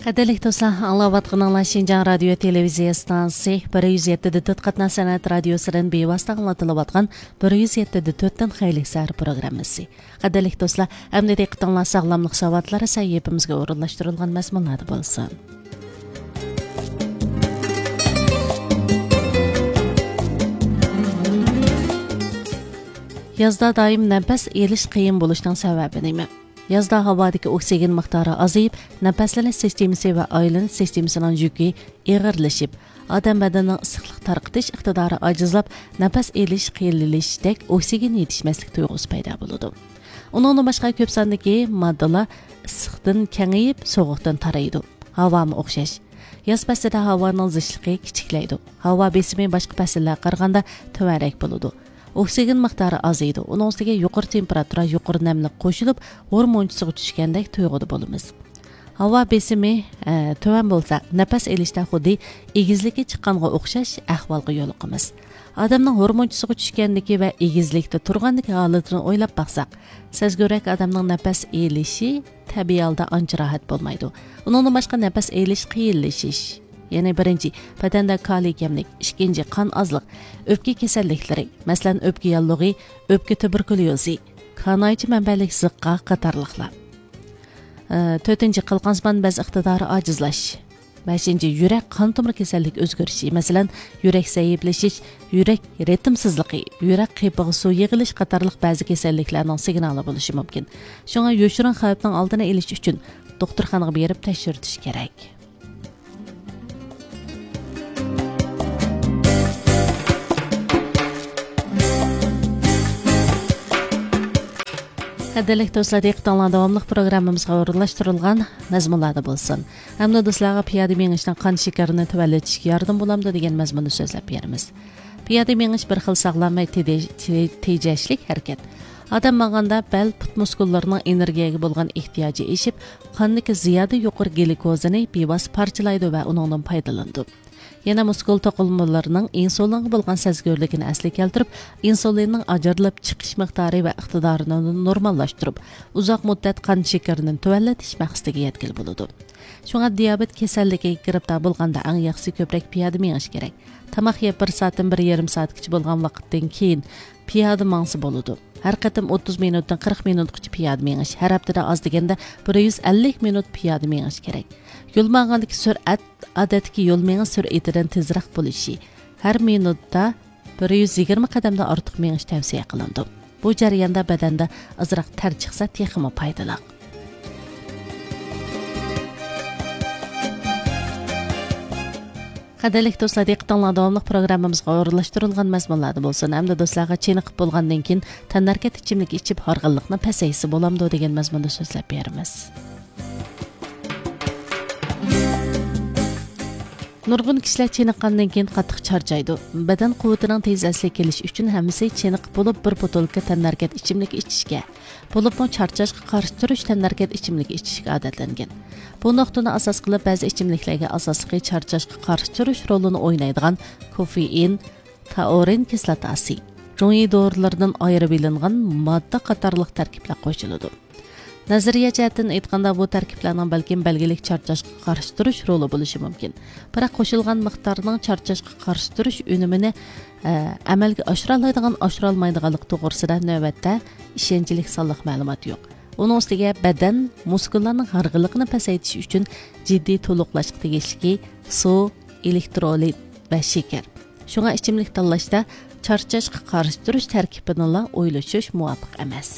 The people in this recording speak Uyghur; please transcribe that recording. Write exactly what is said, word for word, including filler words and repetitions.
قەدىرلىك دوستلار، ئاڭلاۋاتقىنىڭلار شىنجاڭ رادىيو تېلېۋىزىيە ئىستانسىسى بىر يۈز يەتتە دە تۆت قاتناش سەنئەت رادىيوسىدىن بىۋاسىتە ئاڭلىتىلىۋاتقان بىر يۈز يەتتە دە تۆتتىن خەيرلىك سەھەر پروگراممىسى. قەدىرلىك دوستلار، ئەمدى دىققىتىڭلار ساغلاملىق ساۋاتلىرى سەھىپىمىزگە ئورۇنلاشتۇرۇلغان مەزمۇنلاردا بولسۇن. يازدا دائىم نەپەس ئېلىش قىيىن بولۇشنىڭ سەۋەبى نېمە؟ يازدا ھاۋادىكى ئوكسىگېن مىقدارى ئازىيىپ، نەپەسلىنىش سىستېمىسى ۋە ئايلىنىش سىستېمىسىنىڭ يۈكى ئېغىرلىشىپ، ئادەم بەدىنىنىڭ ئىسسىقلىق تارقىتىش ئىقتىدارى ئاجىزلاپ، نەپەس ئېلىش قىيىنلىشىشتەك ئوكسىگېن يېتىشمەسلىك تۇيغۇسى پەيدا بولىدۇ. ئۇنىڭدىن باشقا كۆپ ساندىكى ماددىلار ئىسسىقتىن كېڭىيىپ، سوغۇقتىن تارايدۇ. ھاۋامۇ ئوخشاش. ياز پەسلىدە ھاۋانىڭ زىچلىقى كىچىكلەيدۇ. ھاۋا بېسىمى باشقا پەسىللەرگە قارىغاندا تۆۋەنرەك بولىدۇ. ئوكسىگېن مىقدارى ئازىيىدۇ. ئۇنىڭ ئۈستىگە يۇقىرى تېمپېراتۇرا، يۇقىرى نەملىك قوشۇلۇپ، ھورمونچىسىغا چۈشكەندەك تۇيغۇدا بولىمىز. ھاۋا بېسىمى، ئە، تۆۋەن بولسا، نەپەس ئېلىشتا خۇددى ئېگىزلىككە چىققانغا ئوخشاش ئەھۋالغا يولۇقىمىز. ئادەمنىڭ ھورمونچىسىغا چۈشكەندىكى ۋە ئېگىزلىكتە تۇرغاندىكى ھالىتىنى ئويلاپ باقساق، سەزگۈررەك ئادەمنىڭ نەپەس ئېلىشى تەبىئىي ھالدا ئانچە راھەت بولمايدۇ. ئۇنىڭدىن باشقا نەپەس ئېلىش قىيىنلىشىش. يەنى بىرىنچى، بەدەندە كالىي كەملىك، ئىككىنچى، قان ئازلىق، ئۆپكە كېسەللىكلىرى، مەسىلەن، ئۆپكە ياللۇغى، ئۆپكە تۇبېركۇليوزى، كانايچە مەنبەلىك زىققا قاتارلىقلار. ئە، تۆتىنچى، قالقانسىمان بەز ئىقتىدارى ئاجىزلاش. بەشىنچى، يۈرەك قان تومۇر كېسەللىك ئۆزگىرىشى، مەسىلەن، يۈرەك زەئىپلىشىش، يۈرەك رىتىمسىزلىقى، يۈرەك قېپىغا سۇ يىغىلىش قاتارلىق بەزى كېسەللىكلەرنىڭ سىگنالى بولۇشى مۇمكىن. شۇڭا يوشۇرۇن خەۋپنىڭ ئالدىنى ئېلىش ئۈچۈن دوختۇرخانىغا بېرىپ تەكشۈرتۈش كېرەك. قەدىرلىك دوستلار، دىققىتىڭلار داۋاملىق پروگراممىمىزغا ئورۇنلاشتۇرۇلغان مەزمۇنلاردا بولسۇن. ئەمدى دوستلارغا پىيادە مېڭىشنىڭ قان شېكىرىنى تۆۋەنلىتىشكە ياردىمى بولامدۇ دېگەن مەزمۇننى سۆزلەپ بېرىمىز. پىيادە مېڭىش بىر خىل ساغلام ۋە تېدە-، تې-، تېجەشلىك ھەرىكەت. ئادەم ماڭغاندا بەل، پۇت مۇسكۇللىرىنىڭ ئېنېرگىيەگە بولغان ئېھتىياجى ئېشىپ، قاندىكى زىيادە يۇقىرى گلۇكوزىنى بىۋاسىتە پارچىلايدۇ ۋە ئۇنىڭدىن پايدىلىنىدۇ. يەنە مۇسكۇل توقۇلمىلىرىنىڭ ئىنسۇلىنغا بولغان سەزگۈرلۈكىنى ئەسلىگە كەلتۈرۈپ، ئىنسۇلىننىڭ ئاجرىلىپ چىقىش مىقدارى ۋە ئىقتىدارىنى نورماللاشتۇرۇپ، ئۇزاق مۇددەت قان شېكىرىنى تۆۋەنلىتىش مەقسىتىگە يەتكىلى بولىدۇ. شۇڭا دىيابېت كېسەللىكىگە گىرىپتار بولغاندا ئەڭ ياخشىسى كۆپرەك پىيادە مېڭىش كېرەك. تاماق يەپ بىر سائەتتىن بىر يېرىم سائەتكىچە بولغان ۋاقىتتىن كېيىن پىيادە ماڭسا بولىدۇ. ھەر قېتىم ئوتتۇز مىنۇتتىن قىرىق مىنۇتقىچە پىيادە مېڭىش، ھەر ھەپتىدە ئاز دېگەندە بىر يۈز ئەللىك مىنۇت پىيادە مېڭىش كېرەك. يول ماڭغاندىكى سۈرئەت ئادەتتىكى يول مېڭىش سۈرئىتىدىن تېزرەك بولۇشى، ھەر مىنۇتتا بىر يۈز يىگىرمە قەدەمدىن ئارتۇق مېڭىش تەۋسىيە قىلىنىدۇ. بۇ جەرياندا بەدەندە ئازراق تەر چىقسا تېخىمۇ پايدىلىق. قەدىرلىك دوستلار، دىققىتىڭلار داۋاملىق پروگراممىمىزغا ئورۇنلاشتۇرۇلغان مەزمۇنلاردا بولسۇن. ئەمدى دوستلارغا چېنىقىپ بولغاندىن كېيىن تەنھەرىكەت ئىچىملىكى ئىچىپ، ھارغىنلىقنى پەسەيتسە بولامدۇ دېگەن مەزمۇندا سۆزلەپ بېرىمىز. نۇرغۇن كىشىلەر چېنىققاندىن كېيىن قاتتىق چارچايدۇ. بەدەن قۇۋۋىتىنىڭ تېز ئەسلىگە كېلىشى ئۈچۈن ھەممىسى چېنىقىپ بولۇپ، بىر بوتۇلكا تەنھەرىكەت ئىچىملىكى ئىچىشكە، بولۇپمۇ چارچاشقا قارشى تۇرۇش تەنھەرىكەت ئىچىملىكى ئىچىشكە ئادەتلەنگەن. بۇ نۇقتىنى ئاساس قىلىپ، بەزى ئىچىملىكلەرگە ئاساسلىقى چارچاشقا قارشى تۇرۇش رولىنى ئوينايدىغان كوفېئىن، تائۇرىن كىسلاتاسى، جۇڭيى دورىلىرىدىن ئايرىۋېلىنغان ماددا قاتارلىق تەركىبلەر قوشۇلىدۇ. نەزەرىيە جەھەتتىن ئېيتقاندا، بۇ تەركىبلەرنىڭ بەلكىم بەلگىلىك چارچاشقا قارشى تۇرۇش رولى بولۇشى مۇمكىن. بىراق، قوشۇلغان مىقدارنىڭ چارچاشقا قارشى تۇرۇش ئۈنۈمىنى، ئە، ئەمەلگە ئاشۇرالايدىغان، ئاشۇرالمايدىغانلىقى توغرىسىدا نۆۋەتتە ئىشەنچلىك سانلىق مەلۇمات يوق. ئۇنىڭ ئۈستىگە بەدەن مۇسكۇللارنىڭ ھارغىنلىقىنى پەسەيتىش ئۈچۈن جىددىي تولۇقلاشقا تېگىشلىكى سۇ، ئېلېكترولىت ۋە شېكەر. شۇڭا ئىچىملىك تاللاشتا چارچاشقا قارشى تۇرۇش تەركىبىنىلا ئويلىشىش مۇۋاپىق ئەمەس.